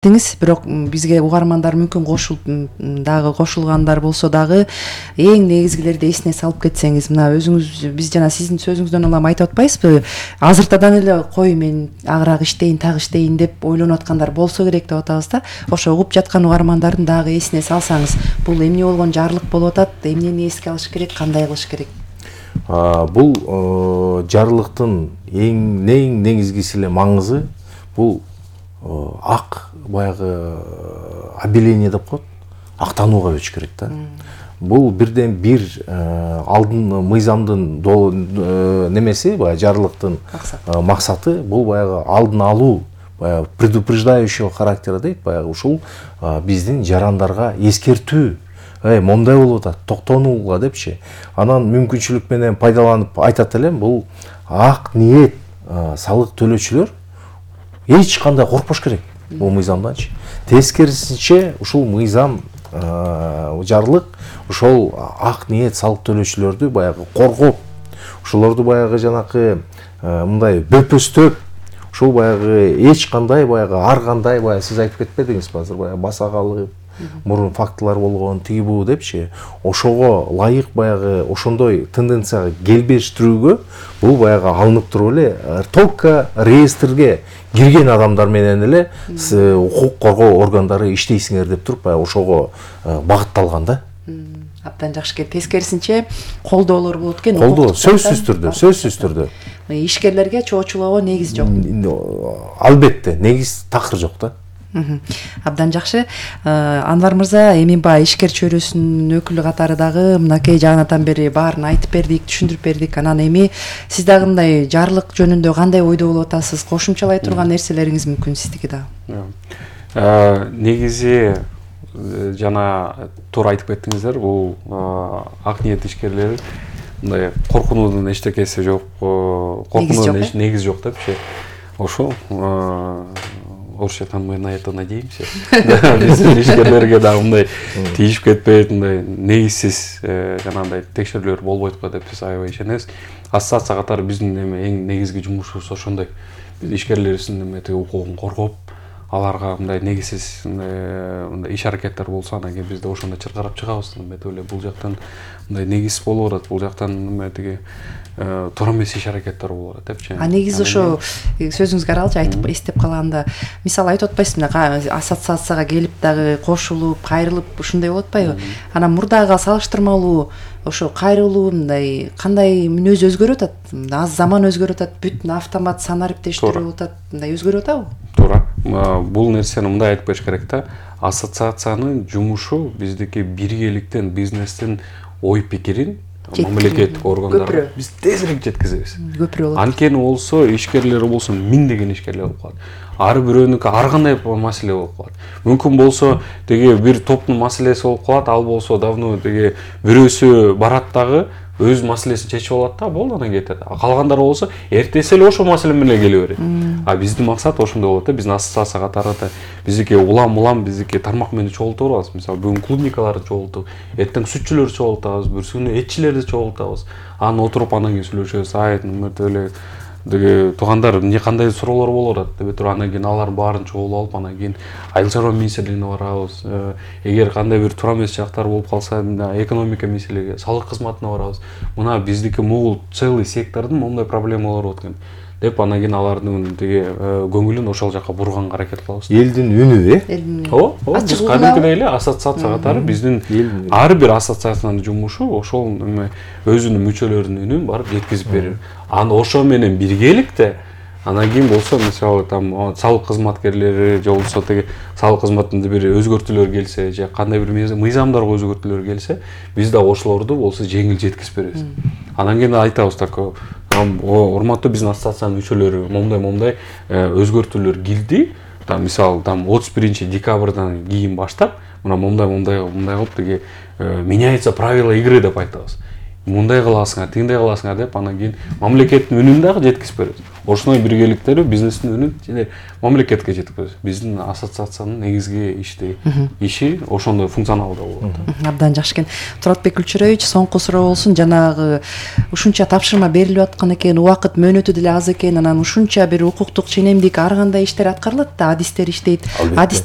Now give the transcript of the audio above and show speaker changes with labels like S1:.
S1: Бирок бизге угармандар мүмкүн кошулгандар болсо дагы эң негизгилерди эсине салып кетсеңиз, мына өзүңүз биз жана сиздин сөзүңүздөн улам айтып атпайсызбы? Азыртадан эле кой мен агыраак иштейин, так иштейин деп ойлонуп аткандар болсо керек деп атабыз да. Ошо угуп жаткан угармандардын дагы эсине салсаңыз, бул эмне болгон жарлык болуп атат, эмнени эске алыш керек, кандай кылыш керек?
S2: Бул жарлыктын эң негизгиси эле маңызы бул ак баягы объявление деп коет, актанууга өтүш керек да. Бул бирден бир алдын мыйзамдын немеси, баягы жарлыктын максаты бул баягы алдын алуу, баягы предупреждающего характера дейт, баягы ушул биздин жарандарга эскертүү. Момдай болуп атат, токтонууга депчи. Анан мүмкүнчүлүк менен пайдаланып айтат элем, бул ак ниет салык төлөөчүлөр эч кандай коркпош керек бул мыйзамданчы. Тескерисинче ушул мыйзам жарлык ошол ак ниет салык төлөөчүлөрдү баягы коргоп, ошолорду баягы жанакы мындай бөпөстөп, ушул баягы эч кандай баягы ар кандай баягы сиз айтып кетпедиңизби азыр, баягы басагалык мурун фактылар болгон тиги бу депчи, ошого ылайык баягы ошондой тенденцияга келбештирүүгө бул баягы алынып туруп эле только реестрге кирген адамдар менен эле укук коргоо органдары иштейсиңер деп туруп баягы ошого багытталган да.
S1: Абдан жакшы экен. Тескерисинче колдоолор болот экен.
S2: Колдоо сөзсүз түрдө.
S1: Ишкерлерге чоочулоого негиз жок.
S2: Албетте, негиз такыр жок да.
S1: Абдан жакшы. Анвар мырза, эми баягы ишкер чөйрөсүнүн өкүлү катары дагы мынакей жагынатан бери баарын айтып бердик, түшүндүрүп бердик. Анан эми сиз дагы мындай жарлык жөнүндө кандай ойдо болуп атасыз? Кошумчалай турган нерселериңиз мүмкүн сиздики да.
S3: Негизи жана туура айтып кеттиңиздер, бул ак ниет ишкерлери мындай коркунуудун эчтекеси жок, коркунуудун негизи жок депчи. Ошол орусча танымай на это надеемся. Биздин ишкерлерге дагы мындай тийишип кетпейт, мындай негизсиз жанагындай текшерүүлөр болбойт го деп биз аябай ишенебиз. Ассоциация катары биздин эң негизги жумушубуз ошондой. Биз ишкерлерибиздин укугун коргоп, аларга мындай негизсиз мындай иш аракеттер болсо, анан кийин биз да ошондо чыркырап чыгабыз. Бул жактан мындай негиз болуп атат, бул жактан тиги туура эмес иш аракеттер болуп атат депчи.
S1: Негизи ошо сөзүңүзгө аралчы айтып эстеп калганда, мисалы айтып атпайсызбы, ассоциацияга келип дагы кошулуп, кайрылып ушундай болуп атпайбы? Анан мурдага салыштырмалуу ошо кайрылуу мындай кандай мүнөзү өзгөрүп атат? Аз заман өзгөрүп атат, бүт автомат санариптештирүү болуп атат, мындай өзгөрүп атабы?
S3: Туура. Бул нерсени мындай айтып бериш керек да. Ассоциациянын жумушу биздики биргеликтен, бизнестин ой пикирин мамлекеттик органдарга биз тезирээк жеткизебиз.
S1: Көпүрө болот.
S3: Анткени болсо ишкерлер болсо миңдеген ишкерлер болуп калат. Ар бирөөнүкү ар кандай маселе болуп калат. Мүмкүн болсо теги бир топтун маселеси болуп калат, ал болсо давно теги бирөөсү барат дагы өз маселесин чечип алат да, болду анан кетет. Калгандар болсо эртеси эле ошол маселе менен келе берет. Биздин максат ошондой болот да. Биздин ассоциация катары биздики улам биздики тармак менен чогултуп алабыз. Мисалы бүгүн клубникаларды чогултуп, эртең сүтчүлөрдү чогултабыз, бүрсүнү этчилерди чогултабыз. Анан отуруп анан кийин сүйлөшөбүз. Эле деги туугандар эмне кандай суроолор болуп атат деп туруп, анан кийин алардын баарын чогулуп алып, анан кийин айыл чарба министрлигине барабыз. Эгер кандай бир туура эмес жактар болуп калса, экономика министрлиги, салык кызматына барабыз. Мына биздики могул целый сектордун моундай проблемалары болот экен деп, анан кийин алардын теги көңүлүн ошол жака бурганга аракет кылабыз.
S2: Элдин үнү,
S3: Ооба, биз кадимкидей эле ассоциация катары биздин ар бир ассоциациянын жумушу ошол өзүнүн мүчөлөрүнүн үнүн барып жеткизип берүү. Анан ошо менен биргеликте анан кийин болсо, мисалы салык кызматкерлери же болбосо теги салык кызматында бир өзгөртүүлөр келсе, же кандай бир мыйзамдарга өзгөртүүлөр келсе, биз да ошолорду болсо жеңил жеткизип беребиз. Анан кийин айтабыз так, урматтуу биздин ассоциациянын мүчөлөрү, момундай өзгөртүүлөр кирди. Мисалы 31-декабрдан кийин баштап, мына момундай кылып теги меняется правила игры деп айтабыз. мындай кыласыңар, тигиндей кыласыңар деп анан кийин мамлекеттин үнүн дагы жеткизип берет. Ошондой биргеликтери бизнестин үнүн және мамлекетке жеткизет. Биздин ассоциациянын негизги иши ошондой функционалдуу болот.
S1: Абдан жакшы экен. Туратбек Күлчүрөевич, соңку суроо болсун. Жанагы ушунча тапшырма берилип аткан экен, убакыт мөөнөтү деле аз экен, анан ушунча бир укуктук ченемдик ар кандай иштер аткарылат да, адистер иштейт. Адистер